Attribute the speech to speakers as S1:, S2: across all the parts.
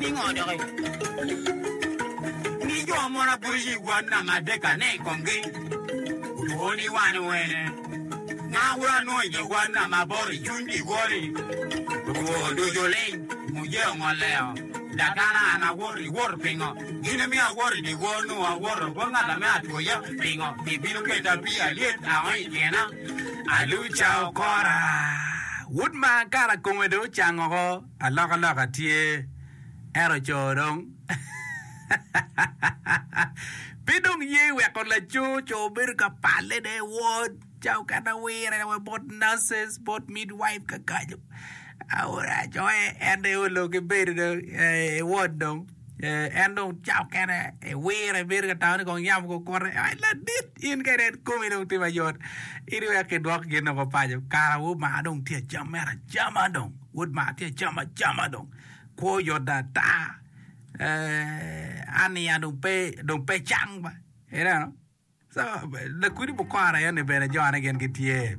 S1: Pingo doki ni jo mono abuc i won namba adek-ka-ne i komgi otwo ni wan owene? Nga wun anongo i dye won namba aboro i cwiny dyewor-ri? Otwo ducu ling, muje ongoleo. Dakana an awoto, iwoto pingo? Gin emiyo awoto i dyewor nongo awoto bot ngat ame atwoya pingo? Ibino keta pii alyet ango i tyena?
S2: Aluca okora, wod ma kara kome dong ocang oko. Alokaloka tye, ento co dong pe dong ye weko laco, co bedo ka palle ne wod ca okene wire wa bot nurses bot midwife kakaco aura coe en dong olo ki bedo dong i wod dong en dong ca okene wire bedo ka tamo ni kong yamo kukute ai ladit in kede komi dong tye mayot in iwek kidwok gin woko paco kara woo mar dong tye acam mere acama dong. Wod mar tye acam acama dong kwo yot ata ania dong pe dong pe cang ba ineno so lakudi mukoro eni bene jone gin gitye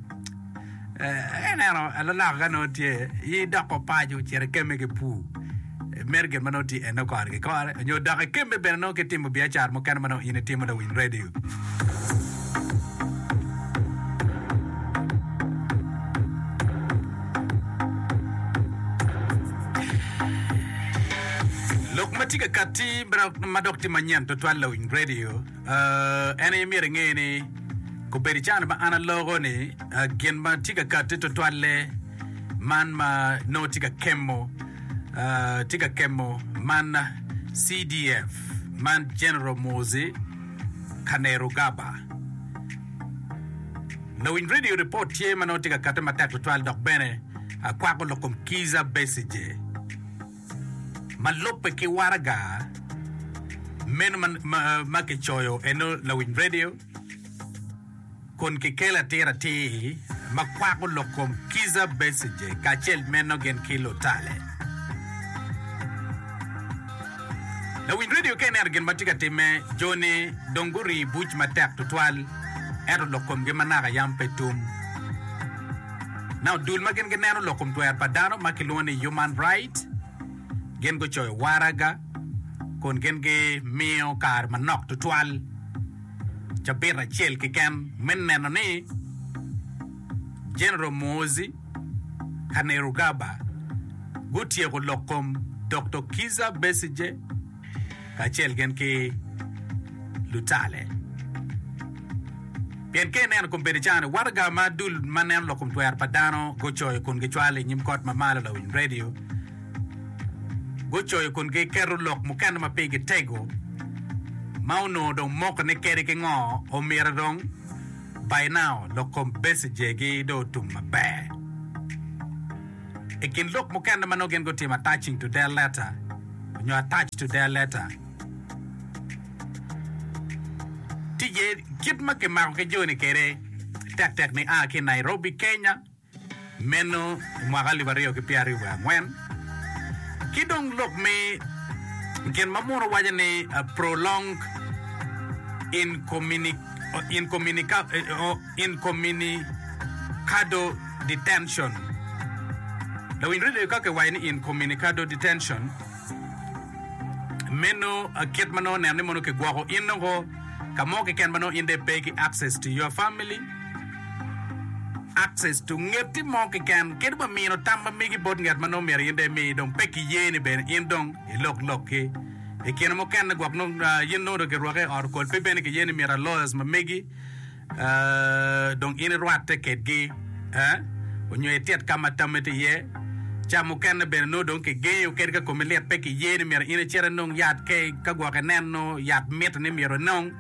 S2: ineno alalaka ka nongo tye in idoko paco cito ikemme ki pur meno gin ma nongo tye eno kore ki kore nyo dok ikemme bene nongo ki timo biacara mukene ma nongo in itimo lawiny radio. Lok ma tye ka katti ma dok tye manyen tutwal lawiny radio en aye myero inge ni kobedo i cana ma an aloko ni gin ma tye ka katti tutwalle man ma nongo tye ka kemo tye ka kemo man CDF man General Muhoozi Kainerugaba. Lawiny radio report tye ma nongo tye ka katte matek tutwal dok bene kwako lok kom Kizza Besigye ma lubbe ki waraga meno ma kicoyo eno lawiny radio kun kikelo atir atir ma kwako lok kom Kizza Besigye kacel meno gin ki lutale. Lawiny redio ka ineno gin ma tye ka timme, jo-ni dong gurii buc matek tutwal, ento lok komgi ma naka yam pe tum. Now, dul ma gin gineno lok kom twero pa dano ma kilwongo ni Human Right gin gucoyo waraga kun gin gimiyo kare manok tutwal, cabit acel keken me neno ni General Muhoozi Kainerugaba gutyeko lok kom Doktor Kizza Besigye kacel gin ki lutale. Pien ka ineno kombeddi cani, waraga ma dul ma neno lok kom twero pa dano gucoyo kun gicwalo i nyim kot ma malo lawiny redio, gucoyo kun giketo lok mukene ma pigi tego ma onongo dong moko ni kadi ki ngo omyero dong By now, lok kom Besigye-gi dong otum maber. I kin lok mukene ma nongo gin gutimo attaching to their letter nyo attached to their letter tye iye kit ma kimako ki joni kwede tektek nia ki i Nairobi, Kenya. Meno i mwaka alip aryo ki pyeraryo wiye angwen. Ki dong lok me gin ma muno waco ni prolonged incommunicado detention. Lawiny radio ka kiwaco ni incommunicado detention, meno kit ma nongo neno ni mono kigwoko in nongo ka mo keken ma nongo in dong ipe ki access to your family, Access to ngeti mo keken kadi wa mino tam ma megi bot nget ma nongo myero in dong imi dong pe ki ye ni bene in dong ilok lokki. I kine mukene gwok nongo in nongo dong kirwaki i ot okol pe bene ki ye ni myero lawyers ma megi dong in irwatte kedgi onyo itit ka ma tammi tye iye. Ca mukene bene nongo dong kigengo kadi ka komi lit pe ki ye ni myero in icit inong yat ka gwok ineno yat mitte ni myero inong.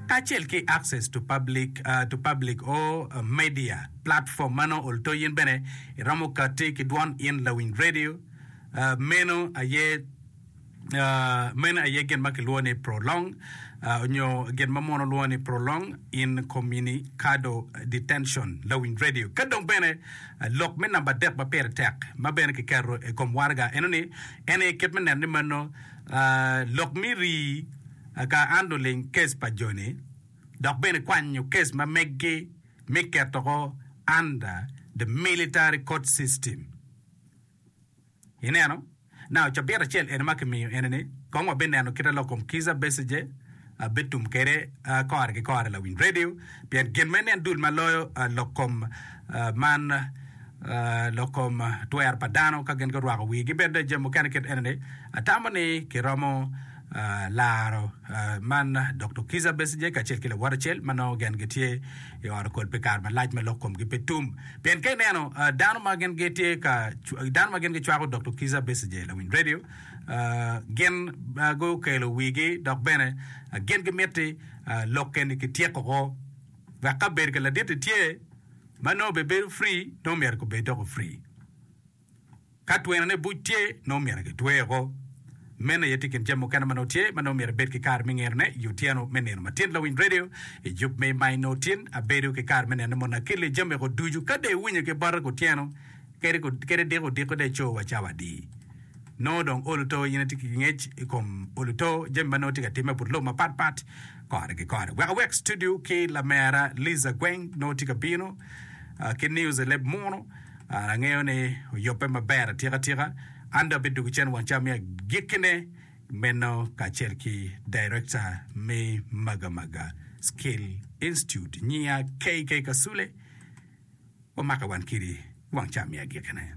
S2: kacel ki access to public to public or media platform ma nongo olto in bene iromo kati ki dwon in lawiny radio meno aye meno aye gin ma kilwongo ni prolong nyo gin ma muno lwongo ni prolong incommunicado detention lawiny radio ka dong bene lok me namba adek ma pire tek ma bene kiketo i kom waraga eno ni en aye kit me neno ni meno lok me rii Ka handling case pa joni dok bene kwanyo case ma meggi me ketoko under the military court system. Ineno? Now cabit acel eni ma kimiyo eni ni kong wabineno kite lok kom Kizza Besigye bitum kede kore ki kore lawiny radio pien gin ma inen dul ma loyo lok kom man lok kom twero pa dano ka gin gurwako wigi bene jami mukene kit eni ni atamo ni kiromo laro man Doktor Kizza Besigye kacel ki lawote acel ma nongo gin gitye i ot okol pi kare malac ma lok komgi pe tum. Pien ka ineno dano ma gin gitye ka dano ma gin gicwako Doktor Kizza Besigye lawiny radio gin gukelo wigi dok bene gin gimitti lok eni kityeko ko wek ka bedo ka ladit-ti tye ma nongo obebedo free nongo myero gubed doko free. Ka twene buc tye, nongo myero kitwe woko. Meno aye tye i kin jami mukene ma nongo tye ma nongo myero ibed ki kare me ngerone i otyeno me nino matin. Lawiny redio i yub me ma inongo tin, abedo ki kare me neno ni mono akeli jami woko ducu. Ka dong iwinyo ki bota kutyeno, kadi kadi diko odiko dong ico wa cawa adi? Nongo dong olo to in itye ki ngec i kom olo to jami ma nongo tye ka timme but lobo mapat pat kore ki kore. Wek awek studio ki lamera Liza Gweng nongo tye ka bino ki news i leb muno. Angeyo ni oyubbe maber atika tika. An dong abidwogo cen wang ca me agikkine meno kacel ki Director me Magamaga Skill Institute, Nyinga KK Kasule. Wamake wan kidi wang ca me agikkine.